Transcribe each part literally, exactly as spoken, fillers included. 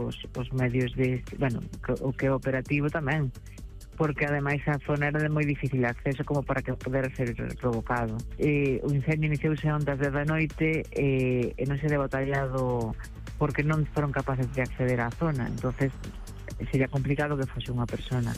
os, os medios de, bueno, o que é operativo tamén, porque ademais a zona era de moi difícil acceso como para que pudera ser provocado. E, o incendio iniciouse ondas de da noite e, e non se deu batallado porque non foron capaces de acceder á zona, entonces sería complicado que fose unha persona.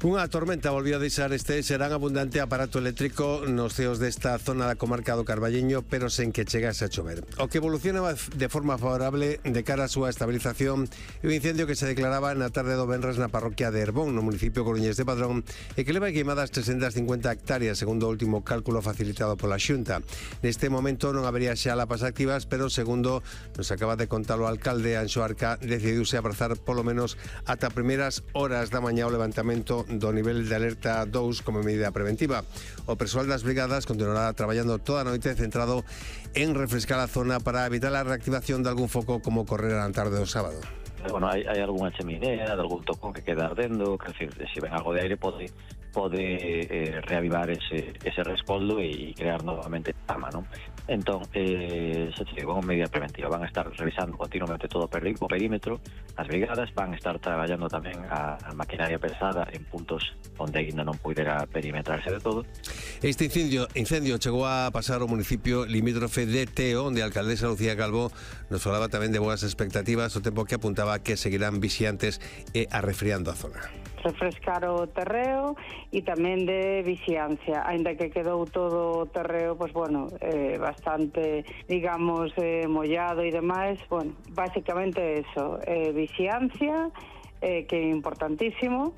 Unha tormenta volvió a deixar este serán abundante aparato eléctrico nos ceos desta zona da comarca do Carballiño, pero sen que chegase a chover. O que evolucionaba de forma favorable de cara á súa estabilización é o incendio que se declaraba na tarde do venres na parroquia de Herbón, no municipio coruñés de Padrón, e que leva queimadas trescentas cincuenta hectáreas, segundo o último cálculo facilitado pola Xunta. Neste momento non habería xa lapas activas, pero segundo nos acaba de contar o alcalde Anxo Arca, decidiuse abrazar polo menos ata primeiras horas da mañá o levantamento do nivel de alerta dous como medida preventiva. O persoal das brigadas continuará traballando toda a noite centrado en refrescar a zona para evitar a reactivación de algún foco como ocorrer a tarde do sábado. Bueno, hai, hai algunha cheminea, de algún tocón que queda ardendo, que decir, se ven algo de aire pode pode eh, reavivar ese, ese rescoldo e crear novamente chama, non? Entón, eh, se che digo, medida preventiva, van a estar revisando continuamente todo o perímetro, as brigadas van a estar traballando tamén a, a maquinaria pesada en puntos onde ainda non pudera perimetrarse de todo. Este incendio, incendio chegou a pasar ao municipio limítrofe de Teo, onde a alcaldesa Lucía Calvo nos falaba tamén de boas expectativas, o tempo que apuntaba que seguirán vixiantes e arrefriando a zona. Refrescar o terreo e tamén de vixiancia, aínda que quedou todo o terreo, pois bueno, eh, bastante, digamos, eh, mollado e demais, bueno, basicamente eso, eh, vixiancia, eh, que é importantísimo,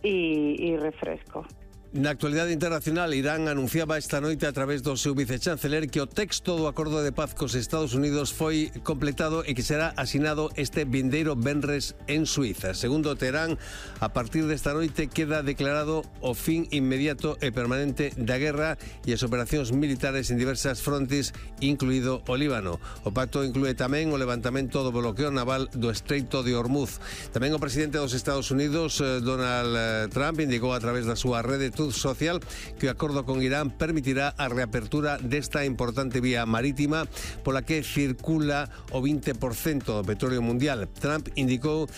e, e refresco. Na actualidade internacional, Irán anunciaba esta noite a través do seu vicechanceler que o texto do acordo de paz cos Estados Unidos foi completado e que será asinado este vindeiro venres en Suiza. Segundo Teherán, a partir desta noite queda declarado o fin inmediato e permanente da guerra e as operacións militares en diversas frontes, incluído o Líbano. O pacto inclúe tamén o levantamento do bloqueo naval do Estreito de Hormuz. Tamén o presidente dos Estados Unidos, Donald Trump, indicou a través da súa rede social que o acordo con Irán permitirá a reapertura desta importante vía marítima pola que circula o vinte por cento do petróleo mundial. Trump indicou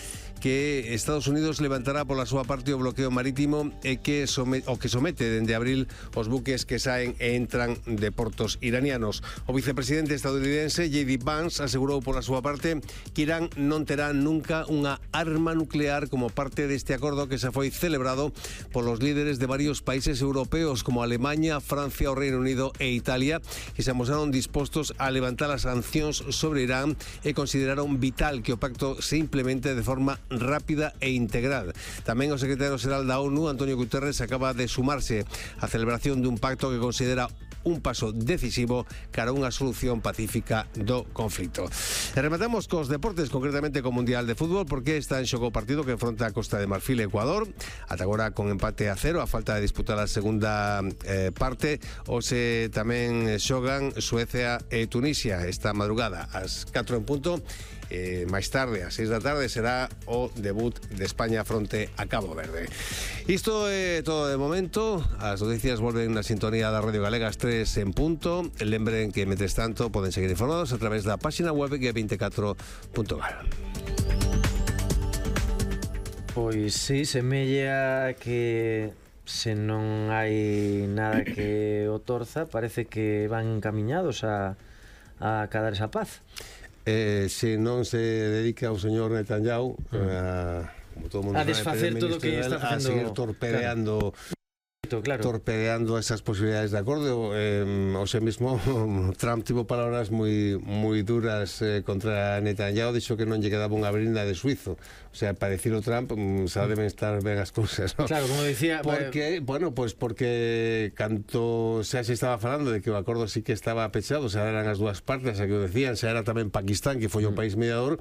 que Estados Unidos levantará pola súa parte o bloqueo marítimo e que somete, o que somete dende abril os buques que saen e entran de portos iranianos. O vicepresidente estadounidense J D Vance asegurou pola súa parte que Irán non terá nunca unha arma nuclear como parte deste acordo que xa foi celebrado polos líderes de varios países europeos como Alemaña, Francia, o Reino Unido e Italia, que se amosaron dispostos a levantar as sancións sobre Irán e consideraron vital que o pacto se implemente de forma rápida e integral. Tamén o secretario xeral da ONU, Antonio Guterres, acaba de sumarse á celebración dun pacto que considera un paso decisivo cara a unha solución pacífica do conflito. E rematamos cos deportes, concretamente co Mundial de Fútbol, porque está en xogo o partido que enfronta a Costa de Marfil e Ecuador, ata agora con empate a cero, a falta de disputar a segunda eh, parte. Hoxe tamén xogan Suecia e Tunisia esta madrugada ás catro en punto. Eh, máis tarde, ás seis da tarde, será o debut de España fronte a Cabo Verde. Isto é todo de momento. As noticias volven na sintonía da Radio Galega ás tres en punto. Lembren que, mentres tanto, poden seguir informados a través da página web g veinticuatro punto gal. Pois sí, semella que se non hai nada que o torza, parece que van encaminhados a, a cadar esa paz. Eh, se non se dedica o señor Netanyahu mm. a, como todo mundo a desfacer todo o que está facendo, a seguir torpedeando, claro. claro. torpedeando esas posibilidades de acordo. Eh, o sea mismo Trump tivo palabras moi moi duras eh, contra Netanyahu, dixo que non lle quedaba unha brinda de suizo. O sea, para decir o Trump, xa deben estar ben as cousas, ¿no? Claro, como dicía... Porque, bueno, pues porque canto xa se estaba falando de que o acordo sí que estaba pechado, xa eran as dúas partes a que o decían, xa era tamén Pakistán, que foi o país mediador,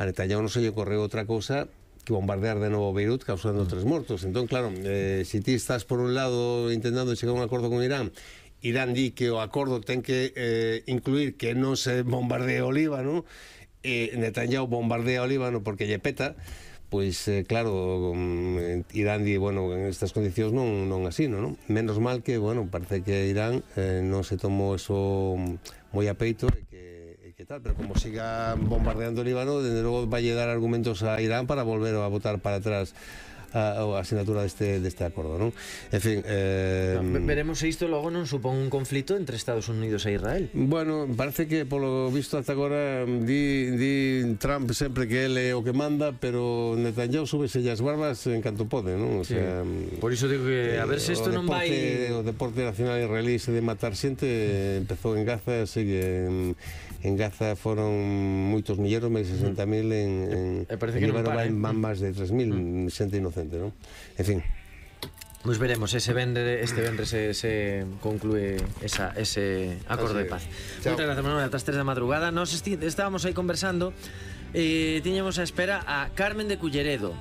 a Netanyahu non se lle correu outra cousa que bombardear de novo Beirut causando tres mortos. Entón, claro, eh, se ti estás por un lado intentando chegar a un acordo con Irán, Irán di que o acordo ten que eh, incluir que non se bombardee o Líbano, e Netanyahu bombardea o Líbano porque lle peta, pois eh, claro, Irán di, bueno, en estas condicións non, non así, non? Menos mal que, bueno, parece que Irán eh, non se tomou eso moi a peito e que, e que tal, pero como siga bombardeando el Líbano, desde luego va a llegar argumentos a Irán para volver a votar para atrás a, a asignatura deste, deste acordo, non? En fin, eh, no, veremos se isto logo non supón un conflito entre Estados Unidos e Israel. Bueno, parece que polo visto ata agora di, di Trump sempre que ele é o que manda, pero Netanyahu súbese as barbas en canto pode, non? O sea, sí. Por iso digo que a ver se isto non vai... O deporte nacional israelí se de matar xente empezou en Gaza, sigue en, en Gaza foron moitos milleros, máis sesenta mil en, en, e parece que non para, van máis de tres mil mm. xente inocente, non? En fin. Pois veremos, ese vendre, este vendre se, se conclúe esa, ese acordo de paz. Moitas gracias, Manuel, ata as tres da madrugada. Nos estábamos aí conversando e eh, tiñamos a espera a Carmen de Culleredo.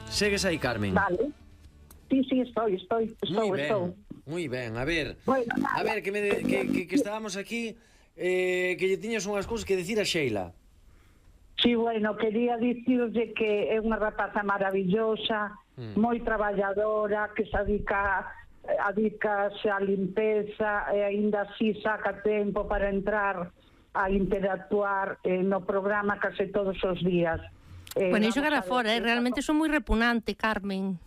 Segues aí, Carmen? Vale. Sí, sí, estoy, estoy, estou, Muy ben, estou. Muy ben, a ver, bueno, a ver, que, me de, que, que, que estábamos aquí, eh, que lle tiñas unhas cousas que decir a Sheila. Sí, bueno, quería dicirlle que é unha rapaza maravillosa, mm. moi traballadora, que se adica, adicase á limpeza e aínda así saca tempo para entrar a interactuar eh, no programa case todos os días. Eh, bueno, iso cara fora, eh? Realmente son moi repugnante, Carmen.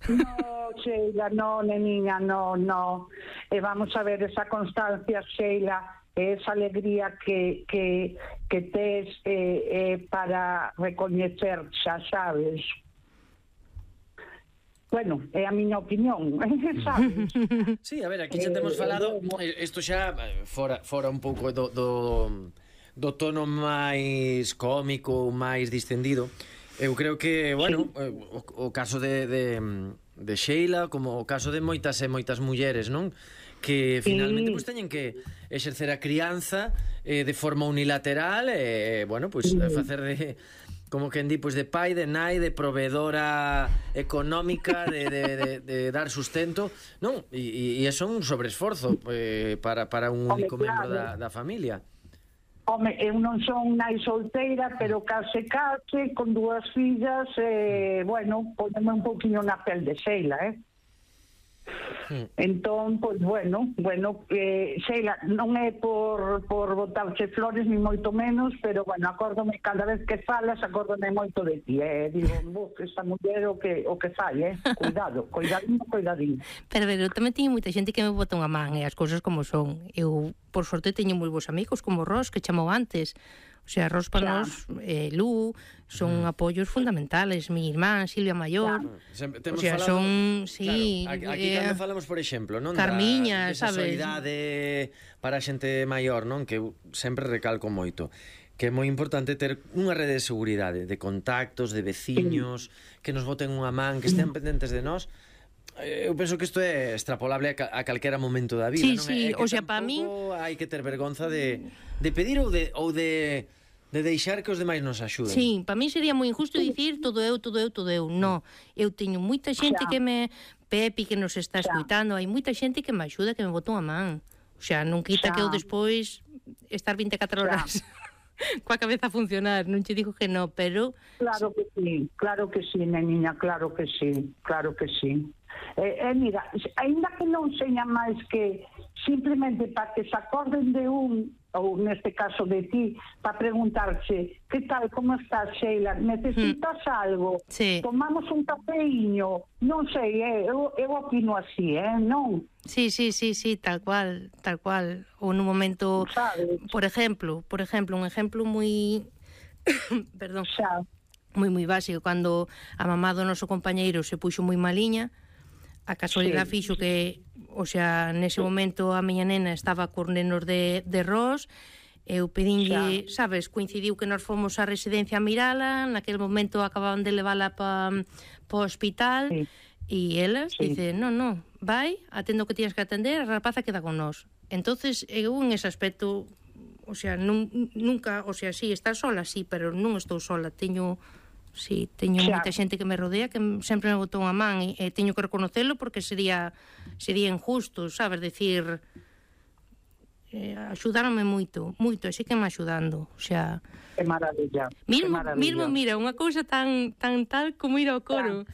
No, Sheila, no, neniña, no, no. E vamos a ver esa constancia, Sheila, esa alegría que, que, que tes eh, eh, para recoñecer, xa sabes. Bueno, é a miña opinión, sabes? Sí, a ver, aquí xa temos falado, isto xa fora, fora un pouco do, do, do tono máis cómico, máis distendido. Eu creo que, bueno, sí. o, o caso de, de, de Sheila, como o caso de moitas e moitas mulleres, non? Que finalmente sí. pues, teñen que exercer a crianza eh, de forma unilateral e, eh, bueno, pues sí. facer de, como quen di, pues de pai, de nai, de proveedora económica, de, de, de, de dar sustento, non? E, e, e son un sobreesforzo eh, para, para un único Hombre, membro claro. da, da familia. Home, eu non son nai solteira, pero case case, con dúas fillas, eh, bueno, poneme un poquinho na pel de Sheila, eh? Hmm. Entón, pois, bueno, bueno, eh, Sheila, non é por, por botarche flores, ni moito menos, pero, bueno, acórdome, cada vez que falas, acórdome moito de ti, eh? Digo, vos, esta muller o que, o que fai, eh? Cuidado, cuidadinho, cuidadinho. Pero, pero, tamén teño moita xente que me bota unha man, e eh, as cousas como son. Eu, por sorte, teño moi bons amigos, como Ros, que chamou antes. O sea, Ros para nos, eh, Lu, son mm. apoios fundamentales. Mi irmán, Silvia Maior. Claro. O sea, falado, son, sí... Claro, aquí eh, cando falamos, por exemplo, non? Carmiña, da, sabes? Solidade para a xente maior, non? Que sempre recalco moito. Que é moi importante ter unha rede de seguridade, de contactos, de veciños, mm. que nos boten unha man, que estean pendentes de nós. Eu penso que isto é extrapolable a calquera momento da vida, sí, non? Sí, é que o sea, para min hai que ter vergonza de, de pedir ou de, ou de de deixar que os demais nos axuden. Sí, para min sería moi injusto dicir todo eu, todo eu, todo eu. No, eu teño moita xente que me... Pepi que nos está escuitando, hai moita xente que me axuda, que me botou a man. O sea, non quita que eu despois estar vinte e catro horas coa cabeza a funcionar, non te digo que no, pero... Claro que sí, claro que sí, neniña, claro que sí, claro que sí. Eh, eh, mira, ainda que non seña máis que simplemente para que se acorden de un, ou neste caso de ti, para preguntarche que tal, como estás, Sheila, necesitas mm. algo, sí. Tomamos un cafeíño, non sei, eh, eu, eu opino así, eh, non? Sí, sí, sí, sí, tal cual, tal cual. Ou nun momento, ¿sabes? por exemplo, por exemplo, un exemplo moi perdón, xa. moi moi básico, cando a mamá do noso compañeiro se puxo moi maliña, a casualidade sí. fixo que, o sea, nese momento a miña nena estaba con nenos de, de Ros, eu pedinlle, xa. sabes, coincidiu que nós fomos á residencia a mirala, naquele momento acababan de levala pa, pa o hospital, sí. e elas sí. dicen, non, non, vai, atendo que tienes que atender, a rapaza queda con nós. Entonces, eu en ese aspecto, o sea, nun, nunca, o sea, sí, estar sola, sí, pero non estou sola, teño... Sí, teño xa. moita xente que me rodea que sempre me botou a man e, e teño que reconocelo porque sería sería injusto, sabes, decir eh, axudaronme moito, moito, así que me axudando, o sea, que maravilla. Mismo, que maravilla. mismo mira, unha cousa tan tan tal como ir ao coro.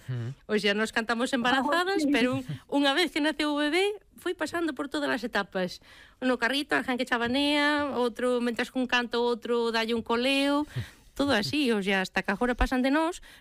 O sea, nos cantamos embarazadas, oh, sí. pero un, unha vez que naceu o bebé, foi pasando por todas as etapas. No carrito, alguén que chabanea, outro, mentras cun canto, outro dalle un coleo, todo así, o sea, hasta que agora pasan de nós,